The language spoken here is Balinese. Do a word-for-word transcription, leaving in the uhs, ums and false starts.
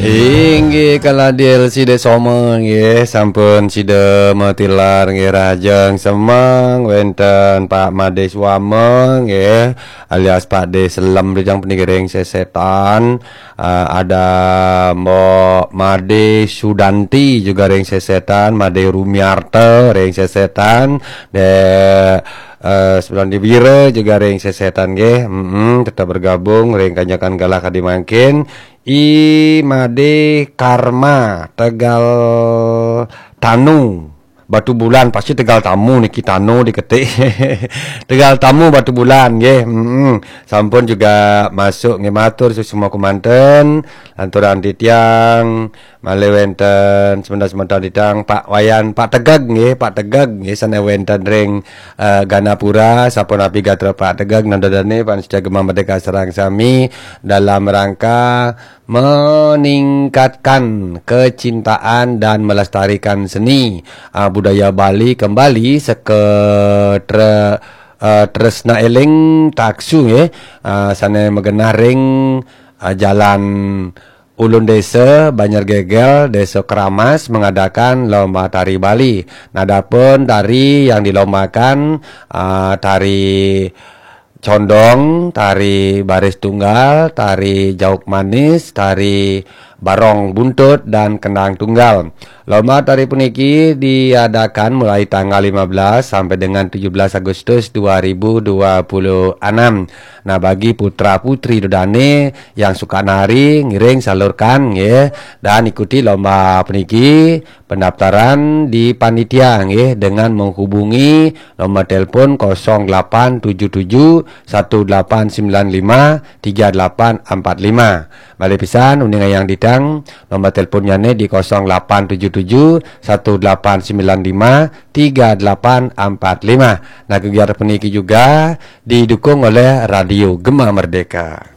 Inggih kala D L C Desoma nggih, sampun sida matilar nggih, rahajeng semeng, wenten Pak Made Suama nggih, alias Pak De Selem, tujang puniki ring sesetan. Ah, ada Mbok Made Sudanti juga ring sesetan, Made Rumiarta ring sesetan, de eh, Sudanti Wira juga ring sesetan nggih. Mm-mm, tetap bergabung ring kanyakan galah kadi mangkin. I Made Karma, Tegal Tanu, Batubulan, pasti Tegal Tamu niki, Tanu diketik. Tegal Tamu, Batubulan nggih. Mm-mm. Sampun juga masuk nggih, matur suksma kemanten. Lanturan titiang malih wenten semeton-semeton titiang, Pak Wayan, Pak Tegeg nggih, Pak Tegeg nggih, sane wenten ring eh, Ganapura, sapunapi gatra Pak Tegeg, nanda dane pamiarsa Gema Merdeka sareng sami dalam rangka meningkatkan kecintaan dan melestarikan seni, ah, budaya Bali kembali seke tre-, eh, tresna eling taksu nggih, ah, sane magenah ring, ah, Jalan Ulun Desa Banjar Gegel, Desa Keramas mengadakan lomba tari Bali. Nadapun tari yang dilombakan, ah, tari condong, tari baris tunggal, tari jauk manis, tari barong buntut, dan kendang tunggal. Lomba tari puniki diadakan mulai tanggal lima belas sampai dengan tujuh belas Agustus dua ribu dua puluh enam. Nah, bagi putra-putri dodane yang suka nari, ngiring salurkan nggih, dan ikuti lomba puniki. Pendaftaran di panitia nggih dengan menghubungi nomor telepon kosong delapan tujuh tujuh satu delapan sembilan lima tiga delapan empat lima. Malih pisan, uning ayang ditang, nomor teleponnyane di kosong delapan tujuh tujuh satu delapan sembilan lima tiga delapan empat lima. Nah, kegiatan puniki juga didukung oleh Radio Gema Merdeka.